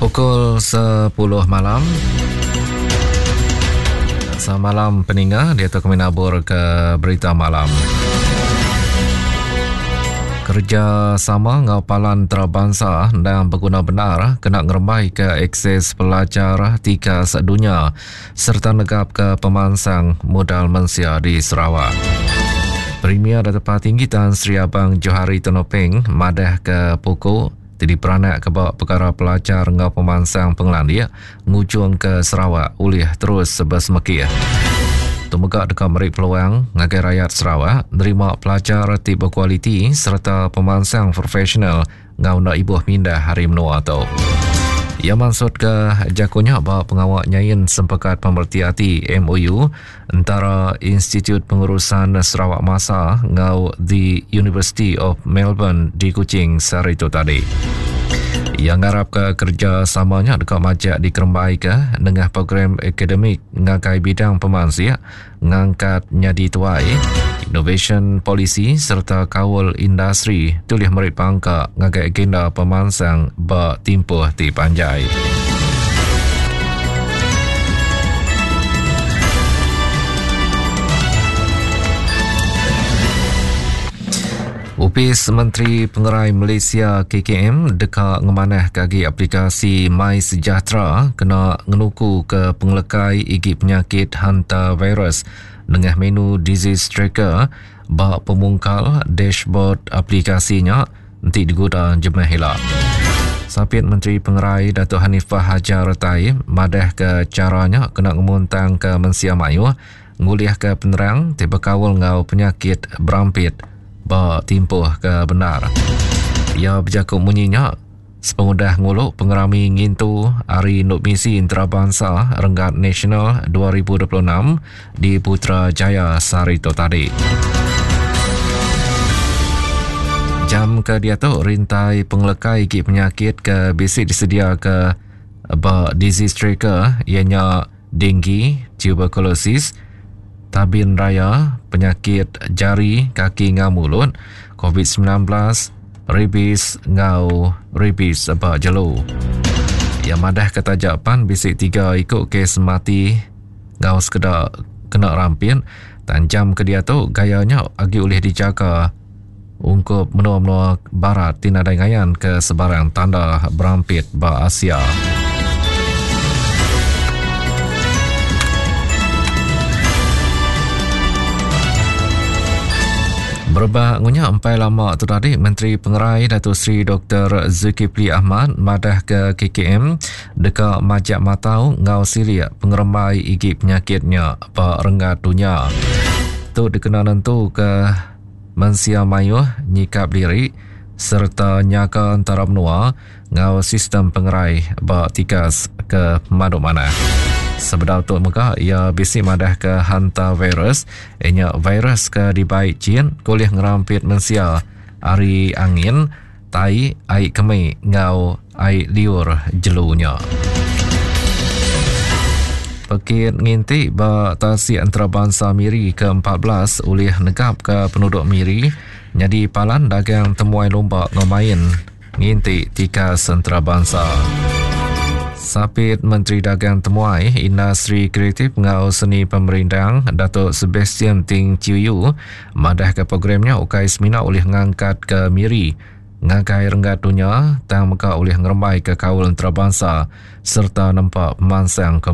Pukul 10 malam. Semalam peninga dia tu kami nabur ke berita malam. Kerja sama ngau palan antarabangsa endang beguna benar kena ngerembai ke akses pelajar tikas dunya sereta negapka pemansang modal mensia di Sarawak. Premier Datuk Patinggi Tan Sri Abang Johari Tun Openg madahka puku ti diperanakka ba pekara pelajar enggau pemansang pengelandik ngujungka Sarawak ulih terus besemekih. Tu mega deka meri peluang ngagai rayat Sarawak nerima pelajar ti bekualiti sereta pemansang profesional enggau enda ibuh mindah ari menua tu. Iya mansutka jaku nya ba pengawa nyain Sempekat Pemereti Ati, MOU, entara Institut Pengurusan Sarawak Masa enggau The University of Melbourne di Kuching sehari tu tadi. Iya ngarapka kerejasama nya deka majak dikerembaika nengah program akademik ngagai bidang pemansik ngangkat nyadi tuai, inovasyen polisi sereta kaul industri ti ulih meri pangka ngagai agenda pemansang ba timpuh ti panjai. Opis Menteri Pengerai Malaysia KKM deka ngemanahka agi aplikasi MySejahtera kena ngenukuka pengelekai igi penyakit hantavirus nengah menu Disease Tracker ba pemungkal dashboard aplikasi nya enti diguda jemah ila. Sapit Menteri Pengerai Datuk Hanifah Hajar Taib madahka chara nya kena ngemuntangka mensia mayuh ngulihka penerang ti bekaul enggau penyakit berampit ba timpuh ke bendar. Iya bejaku munyi nya sepengudah ngulu pengerami ngintu Hari Indu Misi Entarabansa Renggat Nasional 2026 di Putrajaya sehari tu tadi. Jam ke diatu rintai pengelekai igi penyakit ke bisi disediaka ba Disease Tracker iya nya denggi, tuberkulosis, tabin raya, penyakit jari, kaki enggau mulut, COVID-19, rabies enggau rabies ba jelu. Iya madahka taja pan bisi tiga iku kes mati enggau sekeda kena rampit, tang jam ke diatu gaya nya agi ulih dijaga ungkup menua-menua barat ti nadai ngayanka sebarang tanda berampit ba Asia. Berebak ngunya empai lama tu tadi Menteri Pengerai Datuk Seri Dr. Zulkifli Ahmad madah ke KKM deka majak matau enggau silik pengerembai igi penyakit nya ba renggat dunya. Tu dikena nentuka Mensia mayuh nyikap diri sereta nyaga entara menua enggau sistem pengerai ba tikas ke pemadu manah. Sebedau tu mega iya bisi madahka hantavirus iya nya virus ke dibai chin ke ulih ngerampit mensia ari angin, tai, ai kemi enggau ai liur jelu nya. Pekit nginti ba Tasik Entarabansa Miri ke 14 ulih negapka penuduk Miri nyadi palan dagang temuai lumba enggau main nginti tikas entarabansa. Sapit Menteri Dagang Temuai, Industri Kreatif enggau Seni Pemerindang Datuk Sebastian Ting Chiu Yu madahka program nya ukai semina ulih ngangkatka Miri ngagai renggat dunya tang mega ulih ngerembaika kaul entarabansa sereta nempa pemansang komuniti.